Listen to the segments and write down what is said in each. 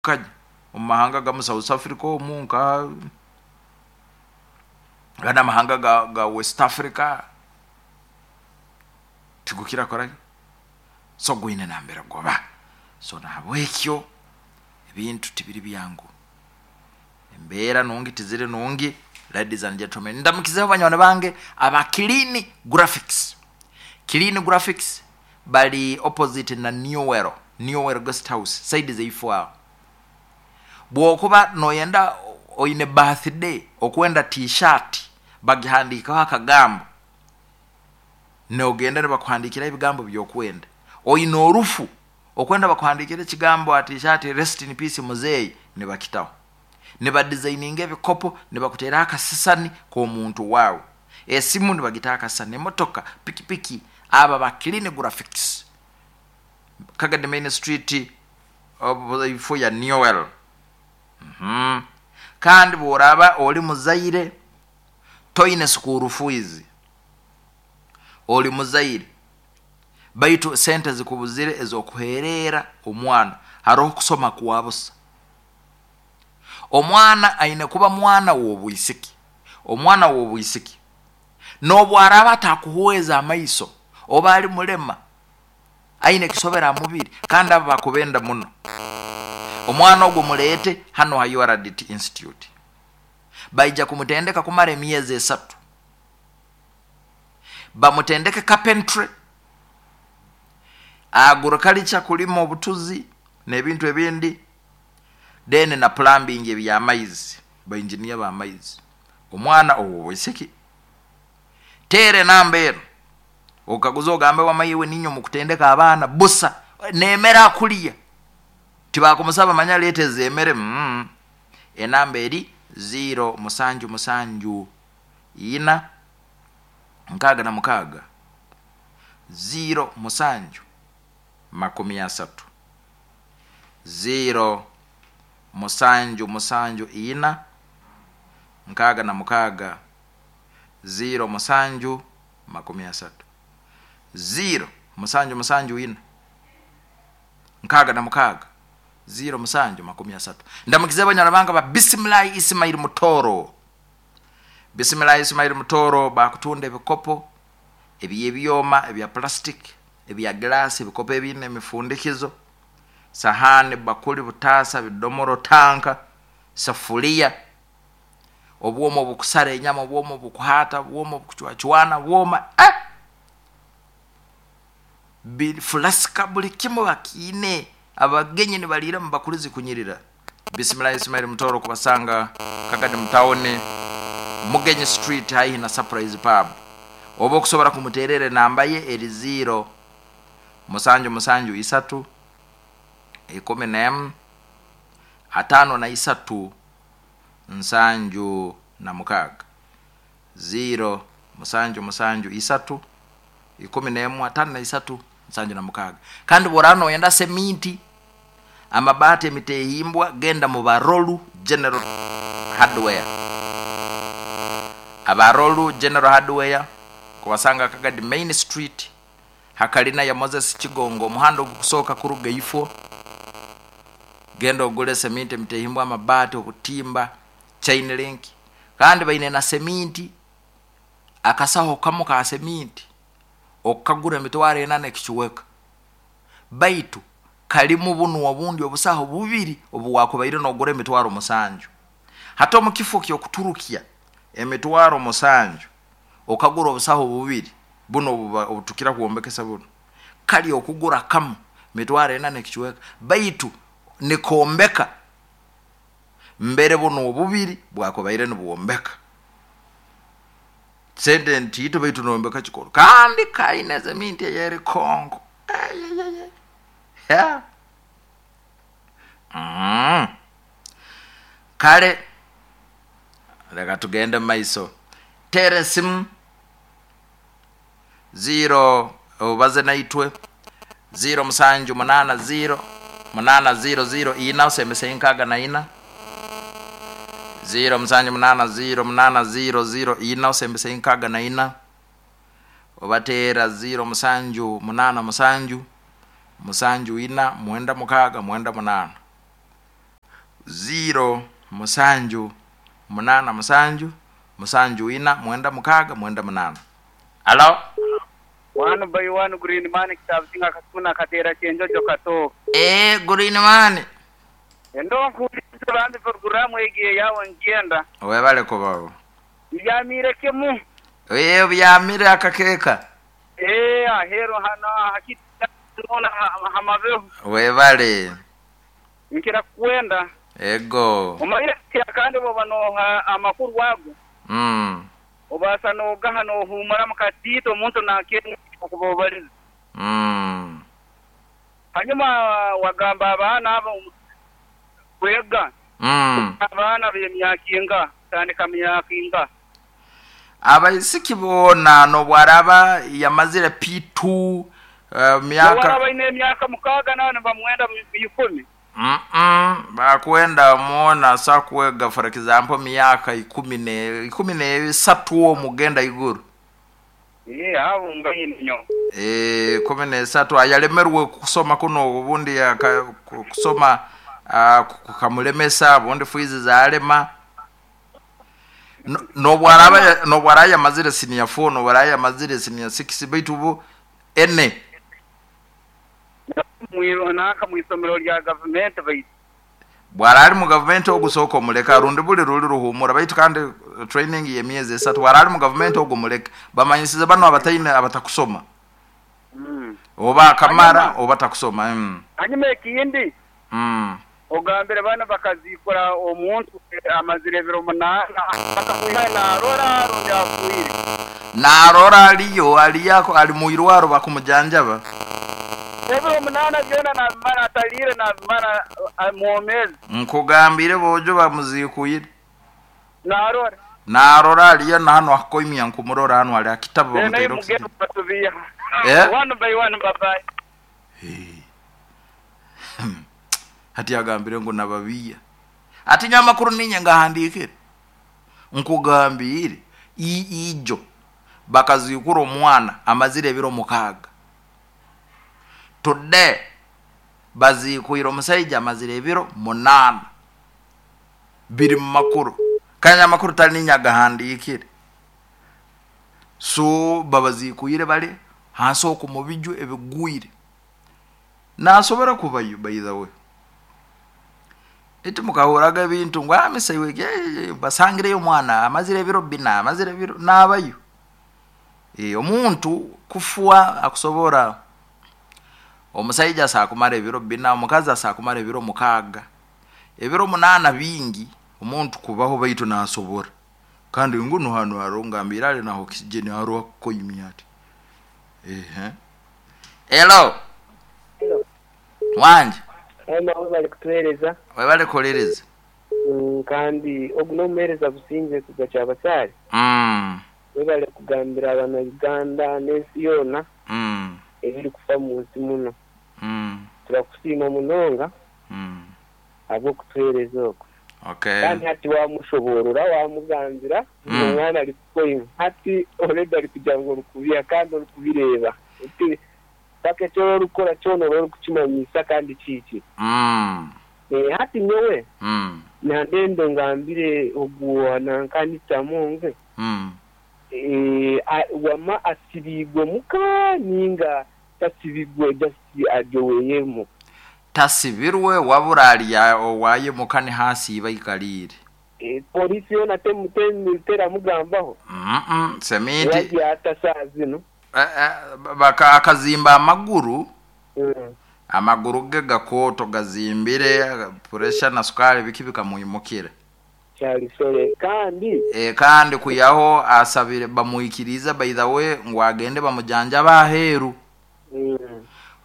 Kanya omu mahanga gamu, South Africa omu, nka gana amahanga ga West Africa, tigukira kukoraki? So gwine nambere guba. So nahabwekyo ebintu tibiri byangu, embeera nungi tiziri nungi. Ladies and gentlemen, ndamukizeho banywani bange aba Clean Graphics. Clean Graphics bali opposite na Newell, Newell Guest House, side zeifo aho. Bwokuba noyenda, oine birthday, okwenda T-shirt bagihandikeho akagambo, nogenda nibakuhandikiraho ebigambo byokwenda. Oine orufu, okwenda bakuhandikire ekigambo ha T-shirt, "Rest in peace muzeeyi," nibakitaho. Nibadesigninga ebikopo, nibakuteraho akasisani k'omuntu waawe. Esimu nibagitaho akasisani, emotoka, pikipiki. Aba ba Clean Graphics, Kagadi Main Street, ifo ya Newell. Kandi bworaba oli muzaire, toine school fees, oli muzaire baitu sente zikubuzire ez'okuhereera omwana, haroho kusoma kwa busa. Omwana aine kuba mwana w'obwisiki. Omwana w'obwisiki n'obu araaba atakuhweza amaiso oba ali mulema, aine ekisobera ha mubiri, kandi abo bakubenda muno, omwana ogwo muleete hano ha URDT Institute. Baija kumutendeka kumara emyezi 3, bamutendeke carpentry, agriculture, kulima obutuzi n'ebintu ebindi, then na plumbing, ebyamaizi, bainjiniya b'amaizi. Omwana ow'obwisiki, teera enamba eno, okaguza, ogambe, "Wamaiwe ninyo mukutendeka abaana busa nemere akuliya?" Tibakumusaba, manya leeta ezemere. Enamba eri 0 7 7 4 66 0 7 30, 0 7 7 4 66 0 7 30, 0 7 7 4 66 0 7 30. Ndamukize abanyarwanda bange ba Bisimilayi Isimaili Mutoro. Bisimilayi Isimaili Mutoro bakutunda ebikopo ebyebyoma, ebya plastic, ebya glass, ebikopo ebine emifundikizo, sahani, bakuli, butaasa, bidomoro, tanka, safuliya, obwoma obukusara enyama, obwoma obukuhata, obwoma obukucwacwana, bwoma flasika, buli kimu bakiine. Abagenyi nibaliira mu bakuli zikunyirira. Bisimilahi Ismail Mutoro kubasanga Kagadi mutawuni, Mugenyi Street, haihi na Surprise Pub. Oba okusobora kumuterera, enamba ye eri 0 7 7 3 11 53 76, 0 7 7 3 11 53 76. Kandi bworaba noyenda seminti, amabaati, emitehimbwa, genda mu Barolu General Hardware. Abarolu General Hardware kubasanga Kagadi Main Street, hakalina ya Moses Kigongo, omuhanda ogukusooka kuruga ifo. Genda ogule seminti, emitehimbwa, amabaati, obutimba, chain link. Kandi baine na seminti. Akasaho kamu ka seminti okukagura 4,000 n'ekicweka, baitu kalimu bunu obundi obusaho bubiri obu wakubaire nogura 7,000. Hati omu kifo ky'okuturukya 7,000 okagura obusaho bubiri bunu obutukira kwombekesa bunu, kali okugura kamu 4,000 n'ekicweka, baitu nikombeka mbere bunu obubiri bwakubaire nibwombeka sente ntiito, baitu nombeka kikoro kandi kaine seminti eyeri Kongo. Yeah. Kale leka tugende mumaiso. Teera esimu 0 obaze naitwe, 0 7 8 0 8 0 0 4 osembese 64, 0 7 8 0 8 0 0 4 osembese 64, obateera 0 7 8 7 7 4 9 6 98. 0 7 8 7 7 4 9 6 9 8. Alo. 1 by 1 Green Man kitabusinga kasuna katera chenjojo kato. Green Man. Endo nkuliza bambi programu egiye yawo ngenda. Webale kubawo. Byamire kemu. Byamire akakeka. Ahero hana hakita nona hamabeho. Webale. Nkira kwenda. Ego. Umaire kandi bo banoha amakuru wago. Obasa nogaha nohumura mukatito omuntu nakenda okubobaliza. Hanyuma wagamba abaana abo kwega. Abaana b'emyaka inga tandika myaka inga. Abaisiki bona nobwaraba yamazire P2 myaka waraba ine myaka 6 nane bamwenda 10. Bakwenda muona sa kuwega for example myaka 13 omugenda iguru. Abo ngainyo. 13 ayalemerwe kusoma kuno ubundi kusoma kukamulemesa bundi fuizi zalema. Nobwaraba yamazire senior 4 nobwaraba yamazire senior 6 baitu bu ene naka mwisomero lya government baitu bwarali mu government ogusoko omuleka rundi buli ruli ruhumura baitu kandi training ye myezi 3 bwarali mu government ogumuleka bamanyisize bano abataine abatakusoma. Oba kamara oba takusoma. Hanyuma ekindi ogambire bana bakazikora omuntu amazire biro 8 bakakuha narora rundi afuire narora aliyo aliyako ali muirwaro bakumujanjaba. Ebiro 8 byona na mara atalire na mara muomezi. Nkugambire bojo bamuzikuyire. Narora. Narora aliyo na hano akoimya nkumurora hano ali akitabo bamutero. One by one bye bye. Hati agambire ngo nababiya. Ati nyamakuru ninye ngahandikire. Nkugambire ijo bakazikura omwana amazire ebiro 6. Today bazikuira omusajja amazire ebiro 8. Biri mu makuru. Kanya makuru tali ninyagahandikire. So babazikuire bale hansi okumubiju ebigwire. Nasobora kubayo by the way. Eti mukahuraga ebintu ngo amisaiwe basangireyo omwana amazire ebiro 4 amazire ebiro nabayo. Omuntu kufua akusobora omusajja asakumara ebiro 4 omukazi asakumara ebiro 6 ebiro 8 bingi omuntu kubaho baitu nasobora. Kandi nguno hano harongambira ali na oxygen haro koyimyati. Hello. Wanje. Ema bali kutuhereza. Webale kolereza. Kandi oguno muhereza businje kugacha abasari. Webale kugambira abana Uganda n'ensi yona. Ebiri kufa mu nsi muno. Turakusiima munonga. Abo kutuhereza okwo. Okay. Kandi hati wamushoborora wamugambira omwana ari kukoyima. Hati already ari kugira ngo rukubya kandi rukubireba. Paketo rukora cyono rukukimanyisa kandi kiki. Hati nyowe. Nandende ngambire oguwana nkanita munge. Wama asibigwe muka ninga tasibigwe just ajoweyemo. Tasibirwe wabura owaye mukane hasi ibayikalire. Polisi yona temutera mugambaho. Semiti. Yatasazi no. Baka akazimba amaguru. Amaguru ge gakoto gazimbire pressure na sukari bikibika muimukire. Cyalisore kandi kandi kuyaho asabire bamuikiriza by the way ngo agende bamujanja baheru.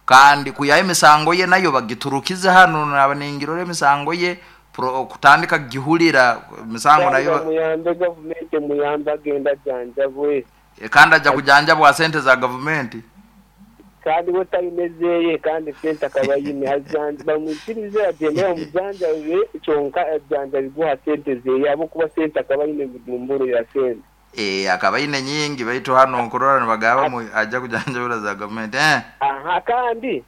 Kandi kuyaho imisango ye nayo bagiturukize hano nabaningirore imisango ye kutandika gihulira misango nayo muyambe government muyambe agenda janja bwe. Kandi aja kujanja bwa sente za government. Kandi wotayimezeye kandi sente akabayime azanja bamwikirize agende omujanja we kyonka ajanja biguha sente ze yabo kuba sente akabayime mudumburo ya sente. Akabayine nyingi baitu hano nkurora nibagaba aja kujanja bura za government. Aha kandi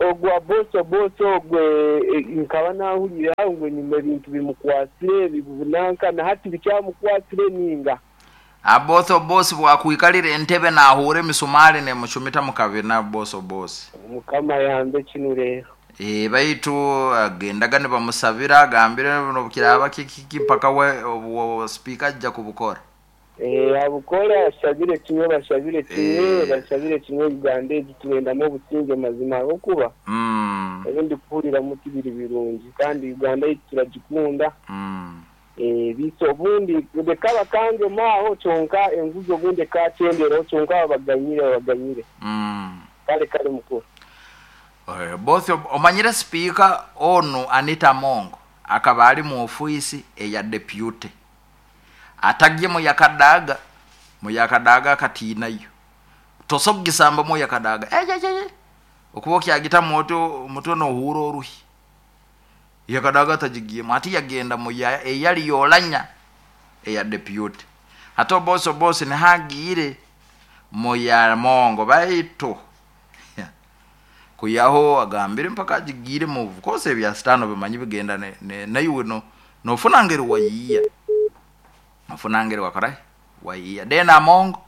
Ogwa boso boso ogwe nkaba nahurira ngu enyuma ebintu bimukwasire bibunanka na hati bikyamukwasire ninga. Aboso bosi bwakwikalira entebe nahuura emisumari nemucumita mukabina boso bosi. Mukama yambe kinu rero. Baitu agendaga nibamusabira agambire nobukiraba kiki mpaka we speaker ajja kubukora. Abukora ashabire kimwe bashabire kimwe bashabire kimwe Uganda egi turendamu obusinge mazima ahabw'okuba ebindi kuhurira muti biri birungi kandi Uganda yaitu turagikunda. Biito obundi leka bakangemu aho kyonka enguzi obundi ekakyenderaho kyonka babaganyire. Kale mukuru. Both omanyire speaker onu Anita Amongo akaba ali mu ofisi eya deputy. Atagye muyakadaga akatinayo. Tosogisamba muyakadaga. Okuba okyagita moto no huro oruhi. Yakadaga tajigiye ati yagenda muya eyali yolanya eya deputy. Hato boso bosi nihagire muya Mongo baitu. Kuyaho agambire mpaka ajigire mu kose ebya sitano bimanyi bigenda naiwe no nofunangeri wayiya. Ofunangeri wakora wayiya. Dena Mongo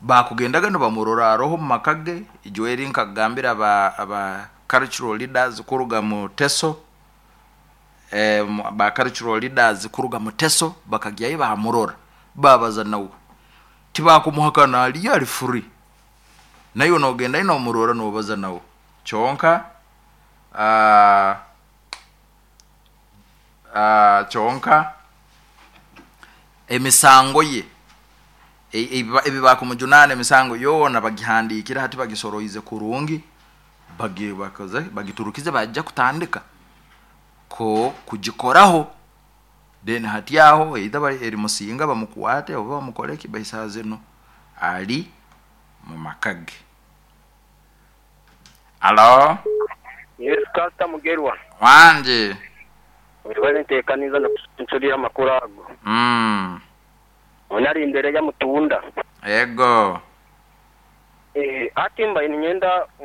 bakugendaga nibamurora roho makage ijweri nkagambira aba cultural leaders kuruga mu Teso. Ba cultural leaders kuruga mu Teso bakagyayo bamurora babaza nawe tibakumuhakana ali ali free nayo nogenda ino murora nobaza nawe chonka chonka emisango ye ebi bakumujunana emisango yona bagihandikira hati bagisoroize kurungi bakoze bagiturukize bajja kutandika ko kugikoraho then hati aho either eri musinga bamukwate oba bamukoleki baisaze no ali mu makage. Alo. Yes, Pastor Mugerwa. Wanje. Webale ntekaniza na kusunsulira amakuru ago. Onari imbere ya mutunda. Ego. Ati mba ninyenda.